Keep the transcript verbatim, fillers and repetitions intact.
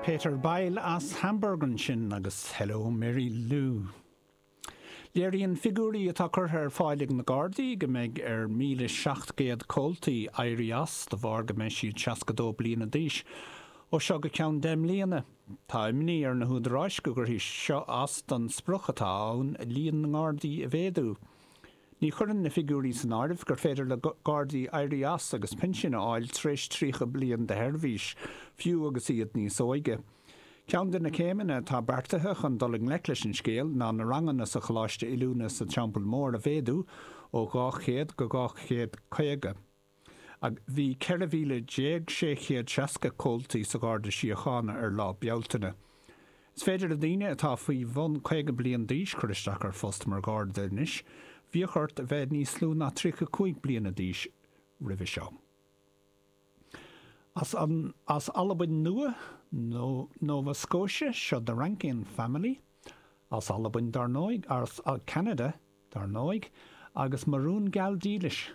Peter Beil as Hamburg ansin agus Hello Mary Lou. Léiríonn figiúirí atá curtha ar fáil ag na Gardaí go mbeidh ar míle seacht gcéad comhaltaí éirí as de bharr go mbeidh siad seasca dó bliana d'aois ó seo go ceann deich mbliana. Tá imní ar na húdaráis go gcuirfidh seo as don sprioc atá ann líon na nGardaí a mhéadú. Ní chuireann na figiúirí san áireamh gur féidir le Gardaí éirí as agus pinsean a fháil tar éis tríocha bliain de sheirbhís, fiú agus iad níos óige. Ceann de na céimeanna atá beartaithe chun dul i ngleic leis an scéal ná na ranganna sa Choláiste Oiliúna sa Teampall Mór a mhéadú ó dhá chéad go dhá chéad caoga. Bhí ceithre mhíle déag sé chéad seasca comhaltaí sa Gharda Síochána ar lá Bealtaine. Is féidir le daoine atá faoi bhun caoga bliain d'aois cur isteach ar phost mar Gharda anois, bhíodh ort a bheith níos lú ná tríocha cúig bliana d'aois roimhe seo. As an as Albain Nua nó Nova Scotia seo The Rankin Family, as Albain dar ndóigh, as Ceanada dar ndóigh, agus Mo Rún Geal Dílis.